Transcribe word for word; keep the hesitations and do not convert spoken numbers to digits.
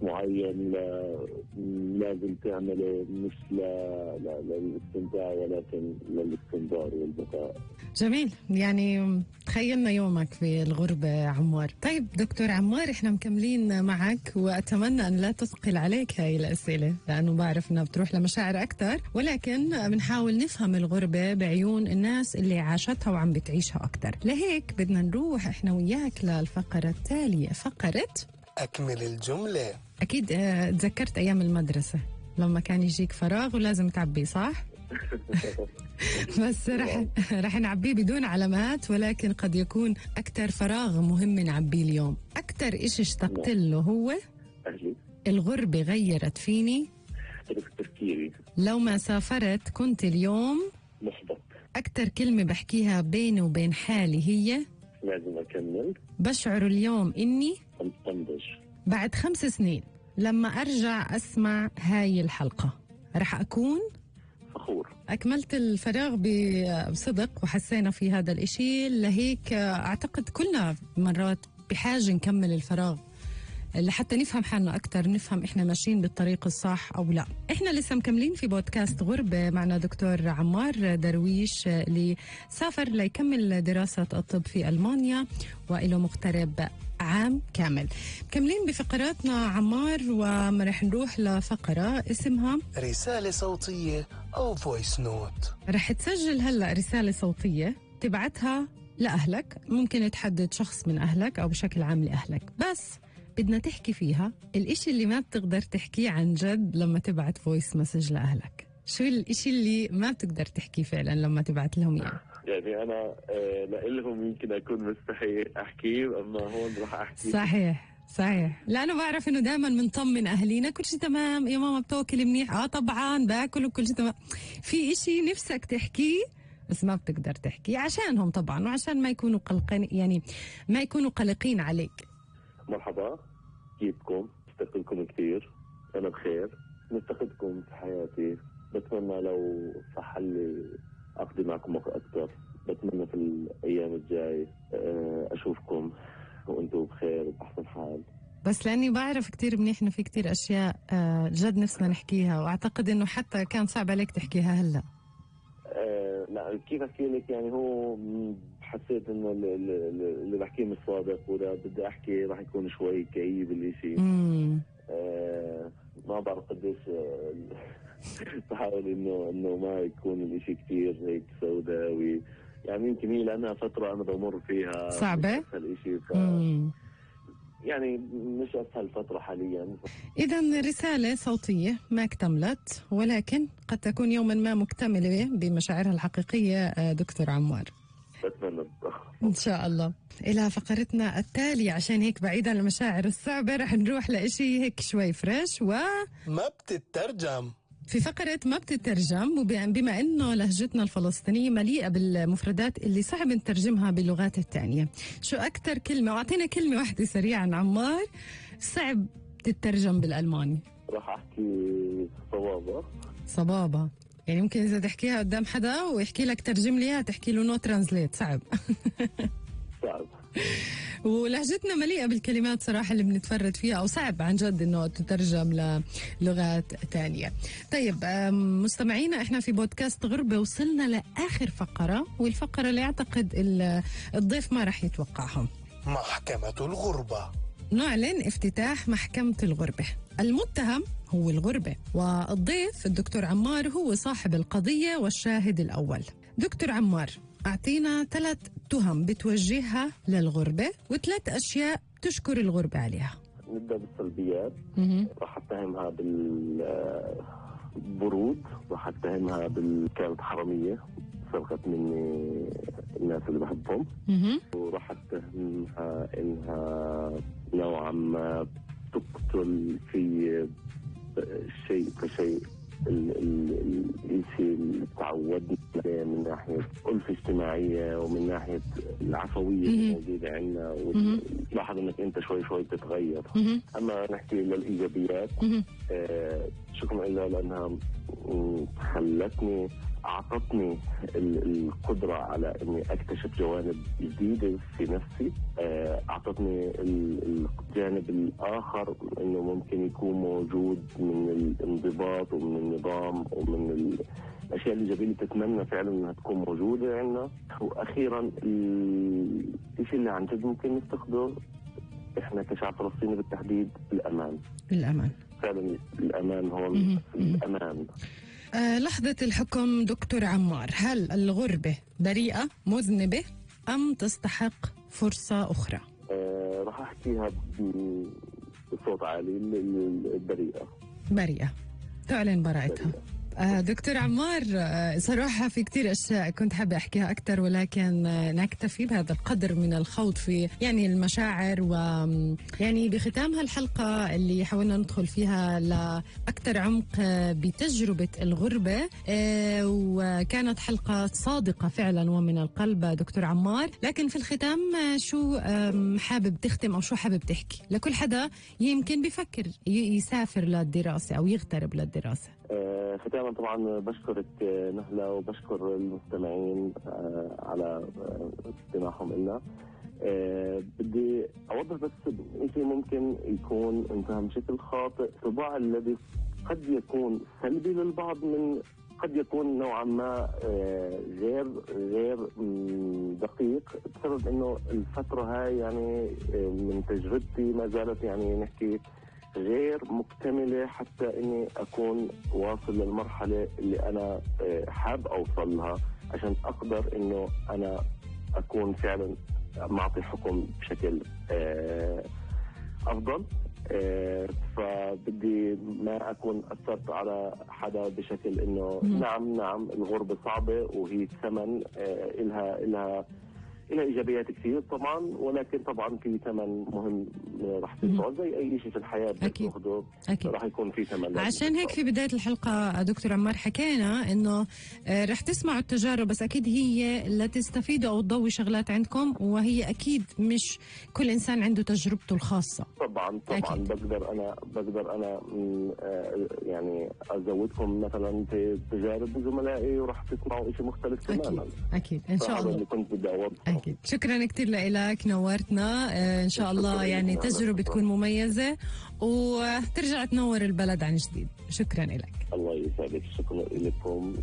معين لازم تعمله مش للاستمتاع ولكن للاستمرار والبقاء. جميل، يعني تخيلنا يومك في الغربة عمار. طيب دكتور عمار، احنا مكملين معك وأتمنى أن لا تثقل عليك هاي الأسئلة لأنه بعرف أنها بتروح لمشاعر أكتر، ولكن بنحاول نفهم الغربة بعيون الناس اللي عاشتها وعم بتعيشها أكتر. لهيك بدنا نروح احنا وياك للفقرة التالية، فقرة أكمل الجملة. أكيد تذكرت أيام المدرسة لما كان يجيك فراغ ولازم تعبيه، صح؟ بس رح رح نعبيه بدون علامات، ولكن قد يكون أكتر فراغ مهم نعبيه اليوم. أكتر إشي اشتقت له هو أهلي. الغربة غيرت فيني تفكيري. لو ما سافرت كنت اليوم محبط. أكتر كلمة بحكيها بيني وبين حالي هي لازم أكمل. بشعر اليوم إني أنضج. بعد خمس سنين لما أرجع أسمع هاي الحلقة رح أكون فخور. أكملت الفراغ بصدق وحسينا في هذا الإشي. لهيك أعتقد كلنا مرات بحاجة نكمل الفراغ لحتى نفهم حالنا أكتر، نفهم إحنا ماشيين بالطريق الصح أو لا. إحنا لسه مكملين في بودكاست غربة معنا دكتور عمار درويش اللي سافر ليكمل دراسة الطب في ألمانيا وإله مغترب عام كامل. مكملين بفقراتنا عمار، ورح نروح لفقرة اسمها رسالة صوتية أو فويس نوت. رح تسجل هلأ رسالة صوتية تبعتها لأهلك، ممكن تحدد شخص من أهلك أو بشكل عام لأهلك، بس بدنا تحكي فيها الإشي اللي ما بتقدر تحكيه عن جد لما تبعت فويس مسج لأهلك. شو الإشي اللي ما بتقدر تحكيه فعلا لما تبعت لهم إياه؟ يعني أنا آه لإلهم يمكن أكون مستحي أحكيه، أما هون رح أحكي. صحيح صحيح، لأنه بعرف إنه دائما منطمن أهلينا كل شيء تمام يا ماما بتوكل منيح، آه طبعا باكل وكل شيء تمام. في إشي نفسك تحكيه بس ما بتقدر تحكيه عشانهم طبعا، وعشان ما يكونوا قلقين، يعني ما يكونوا قلقين عليك. مرحبا، كيفكم؟ مفتقدكم كثير. أنا بخير، مفتقدكم في حياتي. بتمنى لو صح لي أقضي معكم وقت أكثر. بتمنى في الأيام الجاي أشوفكم وأنتم بخير وبأحسن حال. بس لأني بعرف كتير منيح إنه في كتير أشياء جد نفسنا نحكيها، وأعتقد إنه حتى كان صعب عليك تحكيها هلأ. أه لا، كيف أحكي لك؟ يعني هو حسيت إنه اللي بحكيه مش صادق، وإذا بدي أحكي راح يكون شوي كئيب الإشي. أه ما بعرف قديش بحاول إنه إنه ما يكون الإشي كتير هيك سوداوي. يعني يمكن هي لأنها فترة أنا بمر فيها صعبة الإشي، ف يعني مش أسهل فترة حاليا. إذن رسالة صوتية ما اكتملت، ولكن قد تكون يوما ما مكتملة بمشاعرها الحقيقية دكتور عمار. بتمنى إن شاء الله. إلى فقرتنا التالية، عشان هيك بعيدا عن المشاعر الصعبة رح نروح لإشي هيك شوي فريش و ما بتترجم. في فقرة ما بتترجم، وبما أنه لهجتنا الفلسطينية مليئة بالمفردات اللي صعب نترجمها باللغات التانية، شو أكتر كلمة، وأعطينا كلمة واحدة سريعا عمار صعب تترجم بالألماني؟ راح أحكي صبابة. صبابة، يعني ممكن إذا تحكيها قدام حدا ويحكي لك ترجم ليها تحكي له نو ترانزليت، صعب. صعب. ولهجتنا مليئة بالكلمات صراحة اللي بنتفرد فيها، أو صعب عن جد إنه تترجم للغات تانية. طيب مستمعينا، إحنا في بودكاست غربة وصلنا لآخر فقرة، والفقرة اللي أعتقد الضيف ما رح يتوقعهم. محكمة الغربة. نعلن افتتاح محكمة الغربة. المتهم هو الغربة، والضيف الدكتور عمار هو صاحب القضية والشاهد الأول. دكتور عمار، أعطينا ثلاث تهم بتوجهها للغربة وثلاث أشياء تشكر الغربة عليها. نبدأ بالسلبيات. راح أتهمها بالبرود، راح أتهمها بالكانت حرامية، سرقت مني الناس اللي بحبهم، وراح أتهمها إنها نوعا ما تقتل في شيء كشيء الشيء اللي تعودنا من ناحية ألفة اجتماعية ومن ناحية العفوية الموجودة عندنا، ولاحظ انك انت شوي شوي بتتغير. اما نحكي للإيجابيات، آه شكرا لها لأنها خلتني أعطتني القدرة على إني أكتشف جوانب جديدة في نفسي. أعطتني الجانب الآخر إنه ممكن يكون موجود من الانضباط ومن النظام ومن الأشياء الإيجابية اللي تتمنى فعلا إنها تكون موجودة عندنا. وأخيرا الشيء اللي عن جد ممكن نفتقده إحنا كشعب فلسطيني بالتحديد، الأمان. الأمان فعلا الأمان هون. الأمان. آه لحظة الحكم دكتور عمار، هل الغربة بريئة مذنبة أم تستحق فرصة أخرى؟ آه راح أحكيها بصوت عالي، البريئة. بريئة، تعلن براءتها. آه دكتور عمار، آه صراحة في كتير أشياء كنت حابة أحكيها أكتر، ولكن آه نكتفي بهذا القدر من الخوض في يعني المشاعر. ويعني بختام هالحلقة اللي حاولنا ندخل فيها لأكتر عمق آه بتجربة الغربة، آه وكانت حلقة صادقة فعلا ومن القلب دكتور عمار. لكن في الختام آه شو آه حابب تختم أو شو حابب تحكي لكل حدا يمكن بيفكر يسافر للدراسة أو يغترب للدراسة؟ آه ختاما طبعا بشكرك نهلة وبشكر المستمعين آه على استماعهم لنا. آه بدي أوضح بس شيء ممكن يكون انفهم بشكل خاطئ. الطباع الذي قد يكون سلبي للبعض من قد يكون نوعا ما آه غير غير دقيق، بسبب انه الفترة هاي يعني آه من تجربتي ما زالت يعني نحكي غير مكتملة حتى اني اكون واصل للمرحلة اللي انا حاب اوصل لها عشان اقدر انه انا اكون فعلا معطي حكم بشكل افضل. فبدي ما اكون اثرت على حدا بشكل انه نعم نعم الغربة صعبة وهي ثمن إلها إلها إلها إيجابيات كثير طبعا، ولكن طبعا في ثمن مهم راح تدفعه زي أي شيء في الحياة بتاخده راح يكون في ثمن. عشان هيك في بداية الحلقة دكتور عمار حكينا إنه رح تسمعوا التجارب، بس أكيد هي لا تستفيدوا أو تضوي شغلات عندكم، وهي أكيد مش كل إنسان عنده تجربته الخاصة. طبعا طبعا أكيد. بقدر أنا بقدر أنا يعني أزودكم مثلا في تجارب زملائي وراح تسمعوا شيء مختلف تماما. أكيد إن شاء الله. اللي كنت بدي أوضحه. أكيد. شكرا كتير لك، نورتنا. آه إن شاء الله يعني تجربة تكون مميزة وترجع تنور البلد عن جديد. شكرا لك. الله يسعدك. شكرا لكم.